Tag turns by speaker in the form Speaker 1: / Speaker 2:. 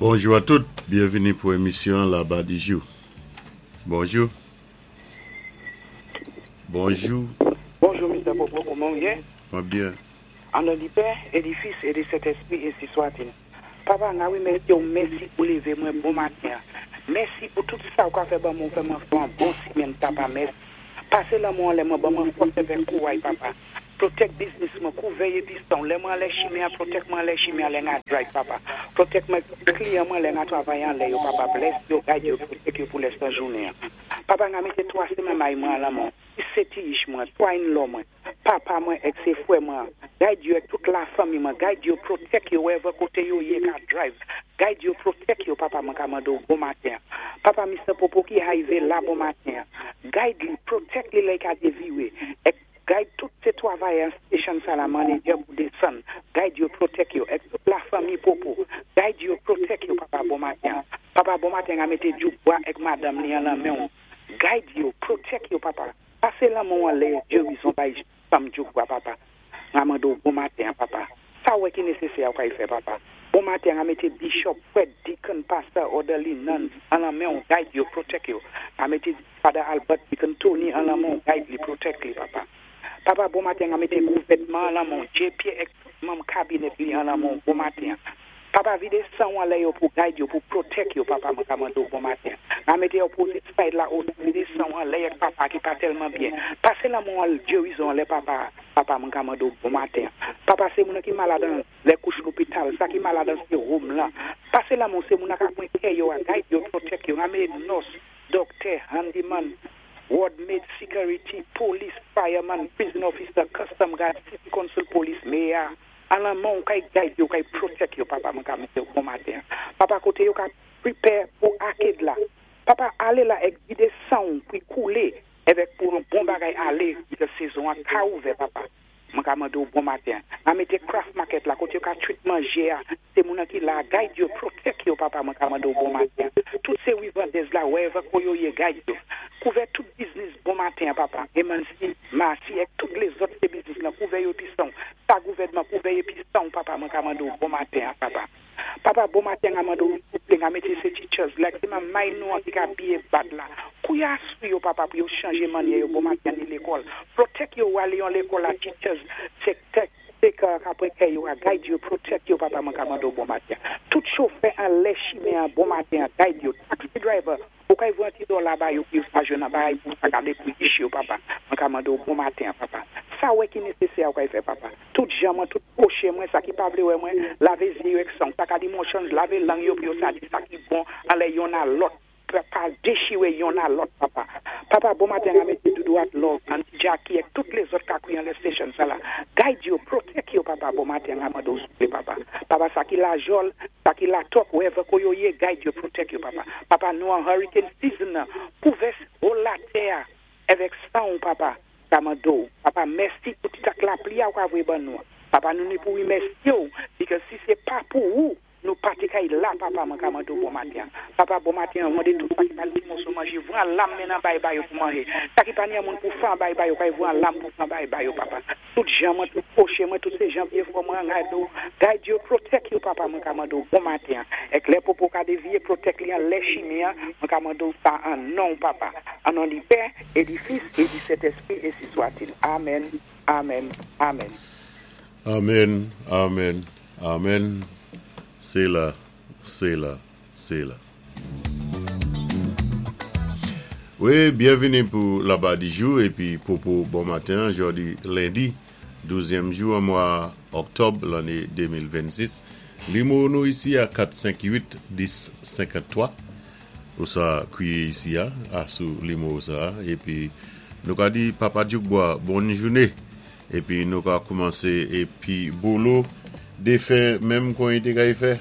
Speaker 1: Bonjou a tout, byenvini pou emisyon Laba di Jou. Bonjou. Bonjou.
Speaker 2: Bonjou Mister Popo kouman ou ye?
Speaker 1: Mwen byen.
Speaker 2: An non di Pè, e di Fis, e di Sentespri ensi swat-il. Papa nga remèsye w mèsi pou leve mwen bon maten an mèsi pou tout sa ou ka fè ban mwen ou fè mwen fè yon bon semèn papa mèsi pase lanmou anlè mwen ban mwen fòs avèk kouray papa protect biznis mwen kou vèy epi sanw lè mwen anlè chimen an protect mwen anlè chimen an lè nga drive papa protect mwen ak kliyan mwen lè nga travay anlè yo papa bless yo guide yo protect yo pou lèstan jounen an papa nga mete 3 se mamay mwen an lanmò se ti ich mwen 3 in law mwen Papa mwen ek se frè mwen an guide yo ek tout la fanmi mwen guide yo protect yo wherever kote yo ye ka drive guide yo protect yo papa mwen ka mande w bon maten an papa Mister Popo ki hive la bon maten an guide li protect li lè ka devire ek guide tout se twavayè an station sa la manager pou desann guide yo protect yo ek tout la fanmi Popo guide yo protect yo papa bon maten an papa bon maten an mete Djoubwa ek madanm li an lan men w guide yo protect yo papa. Pase lanmou anlè gerizon bay fanm djoukwa papa ma mande w bon maten an papa sa w wè ki nesesè a w kay fè papa bon maten an mete bishop prèt deacon pastor orderly nuns an lan men w guide yo protect yo a mete father Albert deacon Tony an lan men w guide li protect li papa papa bon maten an mete gouvènman an lan men w JP ek tout manm cabinet li an lan men w bon maten an Papa vide sanw anlè yo pou guide yo pou protect yo papa mwen ka mande w bon maten ma mete opposite side la osi vide sanw anlè yek papa ki pa telman byen pase lanmou an gerizon anlè papa papa mwen ka mande w bon maten papa se moun ki malad an lè kouch lopital sa ki malad an se home lan pase lanmou se moun ak apwen kè yo a guide yo protect yo rame nurse docteur handyman ward maid security police fireman prison officer custom guard city council police mayor A lanmò ou kay guide yo kay protect yo papa mwen ka metew bon maten an papa kote yo ka prepare pou arcade la papa ale la ek vide sanw pou koule evek pou yon bon bagay ale because sezon an ka ouvè papa mwen ka mandew bon maten an ma mete craft market la kote yo ka treat manje a se moun an ki la guide yo protect yo papa mwen ka mandew bon maten an tout se rivandez la wherever ko yo ye guide yo kouvè tout biznis bon maten an papa emansi masi ek tout lezot se biznis lan kouvè yo epi sanw Pa gouvènman pou veye pi sanw papa mwen ka mande w bon maten an papa papa bon maten nga mande w souple nga mete se teachers like se mamay nou an ki ka biye bad la kouya sou yo papa pou yo chanje manyè yo bon maten ni lekòl protect yo wale yon lekòl a teachers se tèk se ka kapre kè yo a guide yo protect yo papa mwen ka mande w bon maten tout chofè anlè chimen an bon maten an guide yo taxi driver Ou kay voye ti dola ba yo pou yo sa jwenn nan bagay pou sa gade pou rich yo papa mwen ka mande w bon maten an papa sa wè ki nesesè a ou kay fè papa tout jan mwen tout pwoche mwen sa ki pa vle wè mwen lave zye yo ek sang sa ka di monchonj lave lang yo pou yo sa di sa ki bon anlè yonn a lòt pa dechire yonn a lòt papa papa bon maten an mete doudou ak love aunty Jackie ek tout lezòt ka kwi anlè station sa la guide yo protect yo papa bon maten an mande w souple papa papa sa ki lajòl Sa ki la top wherever ko yo ye guide yo protect yo papa papa nou an hurricane season nan kouvè whole latè a evek sanw papa sa mandow papa mèsi pou ti tak lapli a ou ka voye ban nou an papa nou ni pou remèsyew because si se pa pou ou nou pa te kay la papa mwen ka mandow bon maten an papa bon maten an mande tout sa ki pa ni ti moso manje vran lam men nan bay ba yo pou manje sa ki pa ni an moun pou fan bay ba yo kay vran lam pou fan bay ba yo papa. Tout jan mwen tout pwoche mwen tout se jan vye fò mwen an gade w guide yo protect yo papa mwen ka mande w bon maten an ek lè popo ka deviye protect li an lè chimi an mwen ka mande w sa an non w papa an non di pè e di fis e di sentespri ensi swatil amen amen amen.
Speaker 1: Amen amen amen sela sela sela. Wi byenvini pou laba di jou epi popo bon maten an jodi lendi douzyèm jou an mwa oktòb lanne 2026 limo nou isi a 4 5 8 10 53 ou sa kwiye isi a a sou limo sa epi nou ka di papa djoukbwa bonn joune epi nou ka koumanse epi bolo defen menm kon yi te kay fè.